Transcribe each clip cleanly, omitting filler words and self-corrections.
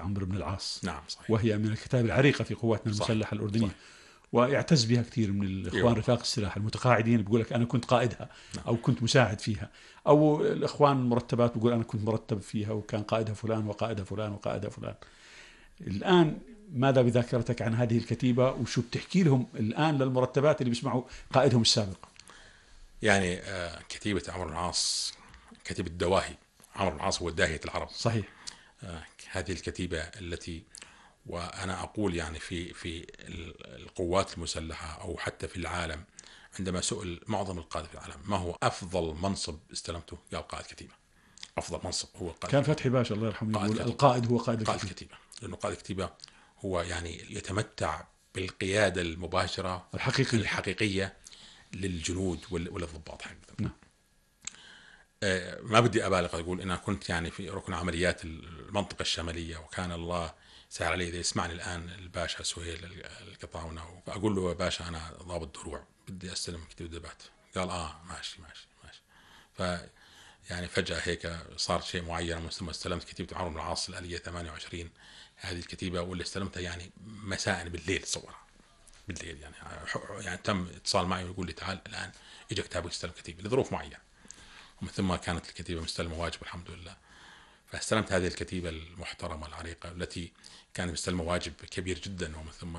عمرو بن العاص. نعم صحيح. وهي من الكتاب العريقة في قواتنا المسلحة الأردنية. صحيح. ويعتز بها كثير من الإخوان رفاق السلاح المتقاعدين، بيقول لك أنا كنت قائدها أو كنت مساعد فيها، أو الإخوان المرتبات بيقول أنا كنت مرتب فيها وكان قائدها فلان وقائدها فلان وقائدها فلان. الآن ماذا بذاكرتك عن هذه الكتيبة، وشو بتحكي لهم الآن للمرتبات اللي بيسمعوا قائدهم السابق؟ يعني كتيبة عمرو بن العاص كتيبة دواهي. عمرو بن العاص هو داهية العرب. صحيح. هذه الكتيبة التي، وأنا أقول يعني في القوات المسلحة أو حتى في العالم، عندما سئل معظم القادة في العالم ما هو أفضل منصب استلمته، قال قائد كتيبة. أفضل منصب هو قائد. كان فتحي باشا الله يرحمه يقول القائد هو قائد الكتيبة، لأنه قائد الكتيبة هو يعني يتمتع بالقيادة المباشرة الحقيقية للجنود وللضباط حقيقة. نعم. ما بدي أبالغ أقول أنا كنت يعني في ركن عمليات المنطقة الشمالية، وكان الله سهل علي. إذا يسمعني الآن الباشا سهيل القطاونة وأقول له يا باشا أنا ضابط دروع بدي أستلم كتيبة دبات، قال ماشي. يعني فجأة هيك صار شيء معين، ثم استلمت كتيبة عمرو بن العاص الآلية 28. هذه الكتيبة واللي استلمتها يعني مساء بالليل، صورها بالليل يعني تم اتصال معي ويقول لي تعال الآن إجا كتابك استلم كتيبة لظروف معينة، ومن ثم كانت الكتيبة مستلمة واجب الحمد لله. فاستلمت هذه الكتيبة المحترمة العريقة التي كانت مستلمة واجب كبير جدا، ومن ثم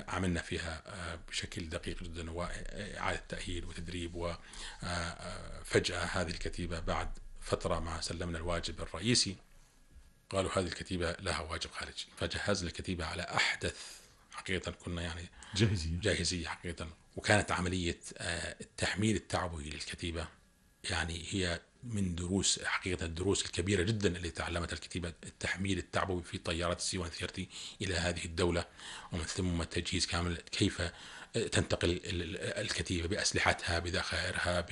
عملنا فيها بشكل دقيق جدا وإعادة تأهيل وتدريب. وفجأة هذه الكتيبة بعد فترة ما سلمنا الواجب الرئيسي قالوا هذه الكتيبة لها واجب خارجي، فجهزنا الكتيبة على أحدث حقيقة، كنا يعني جاهزية حقيقة. وكانت عملية التحميل التعبوي للكتيبة يعني هي من دروس حقيقة الدروس الكبيرة جدا اللي تعلمتها الكتيبة، التحميل التعبوي في طيارات C-130 إلى هذه الدولة، ومن ثم التجهيز كامل، كيف تنتقل الكتيبة بأسلحتها بذخائرها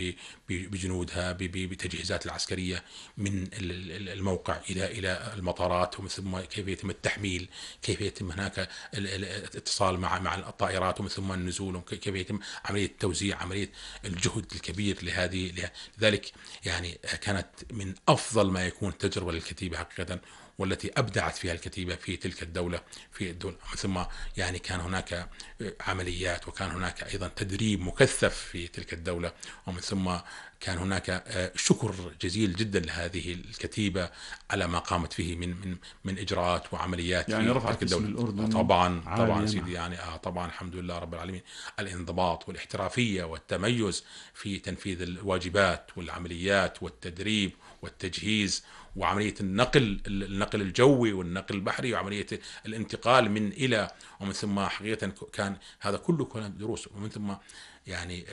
بجنودها بتجهيزات العسكرية من الموقع إلى المطارات، ومن ثم كيف يتم التحميل، كيف يتم هناك الاتصال مع الطائرات، ومن ثم النزول، كيف يتم عملية التوزيع، عملية الجهد الكبير لذلك يعني كانت من أفضل ما يكون تجربة للكتيبة حقيقة، والتي أبدعت فيها الكتيبة في تلك الدولة في الدولة. ثم يعني كان هناك عمليات، وكان هناك أيضا تدريب مكثف في تلك الدولة، ومن ثم كان هناك شكر جزيل جدا لهذه الكتيبة على ما قامت فيه من إجراءات وعمليات يعني في تلك الدولة. الأردن طبعا سيدي يعني طبعا الحمد لله رب العالمين، الانضباط والاحترافية والتميز في تنفيذ الواجبات والعمليات والتدريب والتجهيز، وعملية النقل الجوي والنقل البحري، وعملية الانتقال من إلى، ومن ثم حقيقة كان هذا كله كان دروس، ومن ثم يعني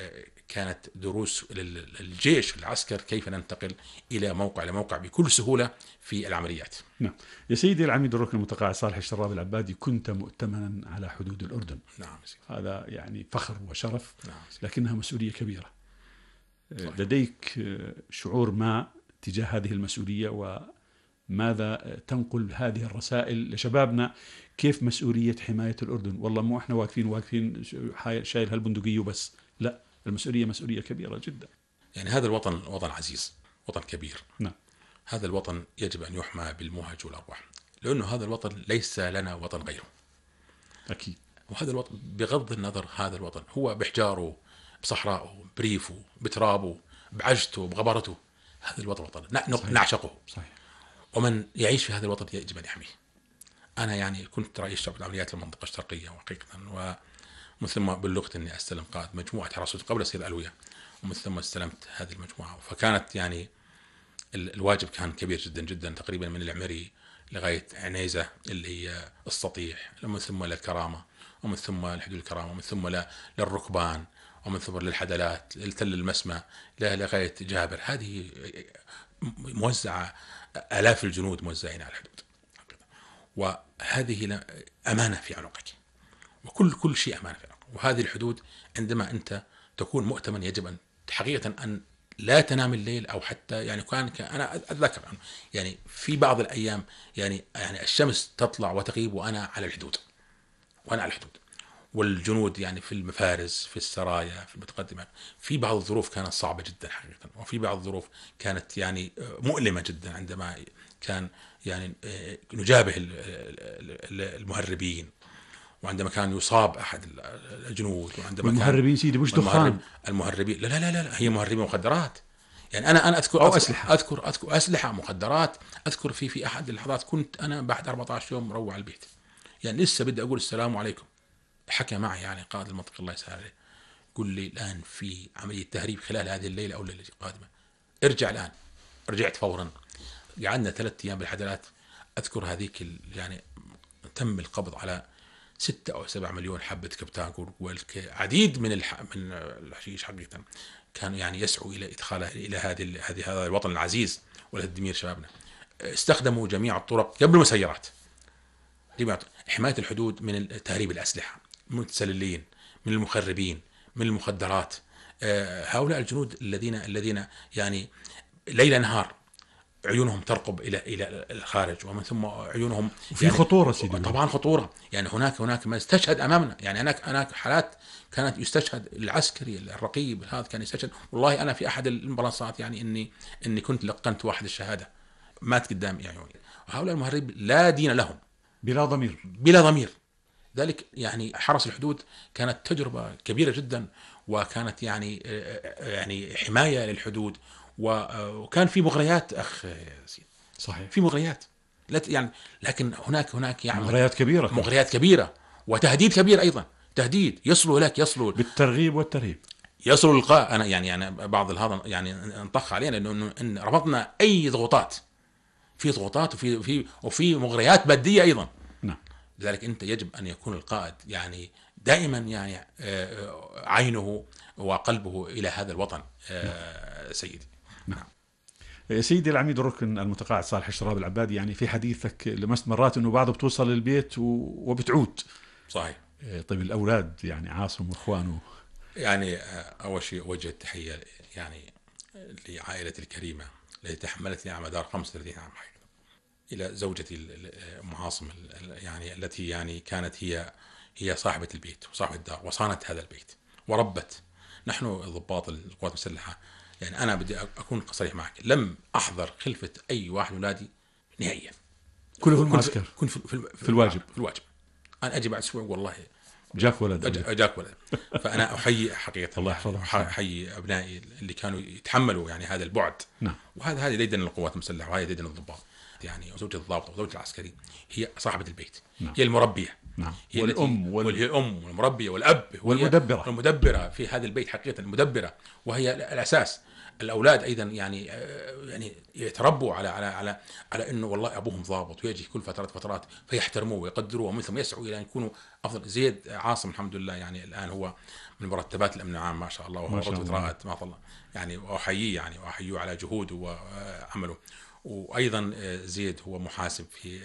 كانت دروس للجيش العسكر كيف ننتقل إلى موقع بكل سهولة في العمليات. نعم. يا سيدي العميد الركن المتقاعد صالح الشراب العبادي، كنت مؤتمنا على حدود الأردن. نعم. هذا يعني فخر وشرف. نعم. لكنها مسؤولية كبيرة. صحيح. لديك شعور ما تجاه هذه المسؤولية، وماذا تنقل هذه الرسائل لشبابنا؟ كيف مسؤولية حماية الأردن؟ والله مو احنا واقفين شايل هالبندقية وبس، لا، المسؤولية مسؤولية كبيرة جدا. يعني هذا الوطن وطن عزيز، وطن كبير. نعم. هذا الوطن يجب أن يحمى بالمهج والأرواح، لأنه هذا الوطن ليس لنا وطن غيره. أكيد. وهذا الوطن بغض النظر، هذا الوطن هو بحجاره، بصحراءه، بريفه، بترابه، بعجته، بغبرته، هذا الوطن وطن نعشقه. صحيح. ومن يعيش في هذا الوطن يجب أن يحميه. أنا يعني كنت رئيس شعبة عمليات المنطقة الشرقية وحقيقة، ومن ثم بلغت أني أستلم قائد مجموعة حراسة قبل السيد ألوية، ومن ثم استلمت هذه المجموعة. فكانت يعني الواجب كان كبير جدا جدا، تقريبا من العمري لغاية عنيزة اللي هي السطيح، ومن ثم للكرامة، ومن ثم لحدود الكرامة، ومن ثم للركبان، ومن ثم للحدلات، للتل المسمى، لغاية جابر. هذه موزعة، آلاف الجنود موزعين على الحدود، وهذه أمانة في عنقك، وكل شيء أمانة في عنقك. وهذه الحدود عندما أنت تكون مؤتمن يجب أن حقيقة أن لا تنام الليل، أو حتى يعني أنا أتذكر يعني في بعض الأيام يعني الشمس تطلع وتغيب وأنا على الحدود، والجنود يعني في المفارز، في السرايا، في المتقدمة. في بعض الظروف كانت صعبة جدا حقيقة، وفي بعض الظروف كانت يعني مؤلمة جدا، عندما كان يعني نجابه المهربين، وعندما كان يصاب أحد الجنود، وعندما المهربين سيدي مش دخان، المهربين لا هي مهربين مخدرات. يعني أنا أذكر أو أسلحة. أذكر أسلحة مخدرات. أذكر في أحد اللحظات كنت أنا بعد 14 يوم مروع البيت، يعني لسه بدي أقول السلام عليكم، حكى معي يعني قائد المنطقة الله يسهل عليه، قل لي الآن في عملية تهريب خلال هذه الليلة أو الليلة القادمة، ارجع الآن. رجعت فورا، قعدنا 3 أيام بالحدلات. أذكر هذيك يعني تم القبض على 6 أو 7 مليون حبة كبتاكور، والعديد من الحشيش حقيقة كانوا يعني يسعوا إلى إدخالها إلى هذا الوطن العزيز ولتدمير شبابنا. استخدموا جميع الطرق قبل المسيرات، حماية الحدود من تهريب الأسلحة، من المتسللين، من المخربين، من المخدرات. هؤلاء الجنود الذين يعني ليل نهار عيونهم ترقب إلى الخارج، ومن ثم عيونهم في يعني خطورة سيدي. طبعا خطورة. يعني هناك ما استشهد أمامنا، يعني هناك حالات كانت يستشهد العسكري الرقيب، هذا كان يستشهد. والله أنا في أحد المنصات يعني إني كنت لقنت واحد الشهادة، مات قدام يعني. هؤلاء المهربين لا دين لهم، بلا ضمير. ذلك يعني حرس الحدود كانت تجربة كبيرة جدا، وكانت يعني حماية للحدود، وكان في مغريات أخ سيد. صحيح، في مغريات يعني، لكن هناك يعني مغريات كبيرة وتهديد كبير أيضا. تهديد يصلوا بالترغيب والترهيب، يصلوا للقاء. أنا بعض هذا يعني انطخ علينا إن رفضنا أي ضغوطات، في ضغوطات وفي مغريات مادية أيضا. نعم. لذلك أنت يجب أن يكون القائد يعني دائما يعني عينه وقلبه إلى هذا الوطن. سيدي. نعم. سيدي العميد الركن المتقاعد صالح الشراب العبادي، يعني في حديثك لمست مرات أنه بعضه بتوصل للبيت وبتعود. صحيح. طيب الأولاد يعني عاصم وإخوانه، يعني أول شيء وجه التحية يعني لعائلتي الكريمة التي تحملتني على مدار 35 عام حقيقة، إلى زوجتي أم عاصم يعني التي يعني كانت هي صاحبة البيت وصاحبة الدار، وصانت هذا البيت وربت. نحن ضباط القوات المسلحة، يعني أنا بدي أكون صريح معك، لم أحضر خلفة أي واحد من أولادي نهائيا، كله في المعسكر، كنت في الواجب. أنا أجي بعد أسبوع والله جاك ولد. فأنا أحيي حقيقة الله يحفظه، أحيي أبنائي اللي كانوا يتحملوا يعني هذا البعد. نعم. وهذه ديدن القوات المسلحة، وهذه ديدن الضباط. يعني زوجة الضابط وزوجة العسكري هي صاحبة البيت. نعم. هي المربية. نعم. هي والأم هي الأم والمربية والأب والمدبرة في هذا البيت حقيقة، المدبرة، وهي الأساس. الأولاد أيضا يعني يتربوا على إنه والله أبوهم ضابط، ويجي كل فترات فيحترموه ويقدروه، ومن ثم يسعوا إلى أن يكونوا أفضل. زيد عاصم الحمد لله يعني الآن هو من مرتبات الأمن العام ما شاء الله، وهو رجل رائد ما شاء الله يعني، وأحييه يعني وأحييه على جهوده وعمله. وأيضا زيد هو محاسب في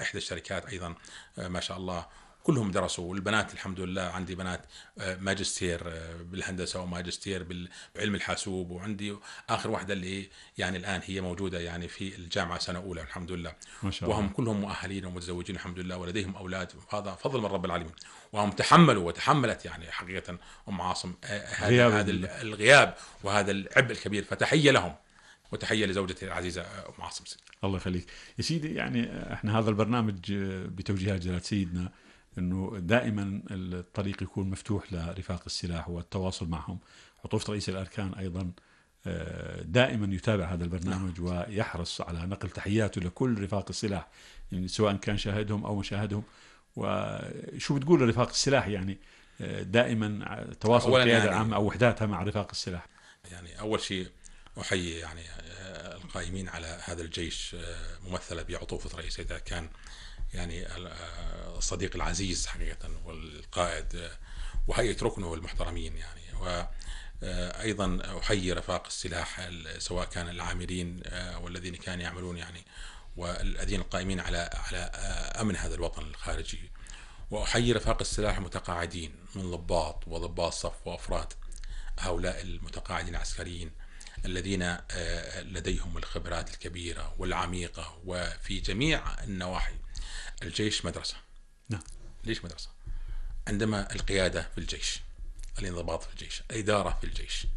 إحدى الشركات أيضا ما شاء الله. كلهم درسوا، والبنات الحمد لله عندي بنات ماجستير بالهندسة وماجستير بعلم الحاسوب، وعندي آخر واحدة اللي يعني الآن هي موجودة يعني في الجامعة سنة أولى الحمد لله، ما شاء الله. وهم كلهم مؤهلين ومتزوجين الحمد لله ولديهم أولاد، هذا فضل من رب العالمين. وهم وتحملت يعني حقيقة أم عاصم هذا الغياب وهذا العبء الكبير، فتحية لهم وتحية لزوجتي العزيزة أم عاصم. الله يخليك يا سيدي. يعني احنا هذا البرنامج بتوجيهات جلالة سيدنا انه دائما الطريق يكون مفتوح لرفاق السلاح والتواصل معهم. عطوفة رئيس الأركان ايضا دائما يتابع هذا البرنامج ويحرص على نقل تحياته لكل رفاق السلاح، يعني سواء كان شاهدهم او مشاهدهم. وشو بتقول لرفاق السلاح يعني دائما تواصل القيادة العامة او وحداتها مع رفاق السلاح؟ يعني اول شيء احيي يعني القائمين على هذا الجيش ممثلة بعطوفة رئيس الأركان، يعني الصديق العزيز حقيقة والقائد، وهيئة ركنه والمحترمين يعني. وأيضا أحيي رفاق السلاح سواء كان العاملين والذين كانوا يعملون يعني، والذين القائمين على أمن هذا الوطن الخارجي. وأحيي رفاق السلاح المتقاعدين من ضباط وضباط صف وأفراد، هؤلاء المتقاعدين العسكريين الذين لديهم الخبرات الكبيرة والعميقة وفي جميع النواحي. الجيش مدرسة. نعم. ليش مدرسة؟ عندما القيادة في الجيش، الانضباط في الجيش، الإدارة في الجيش،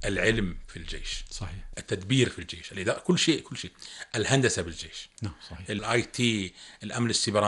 العلم في الجيش، صحيح. التدبير في الجيش، الإدارة، كل شيء، الهندسة بالجيش، نعم صحيح. الIT، الأمن السيبراني.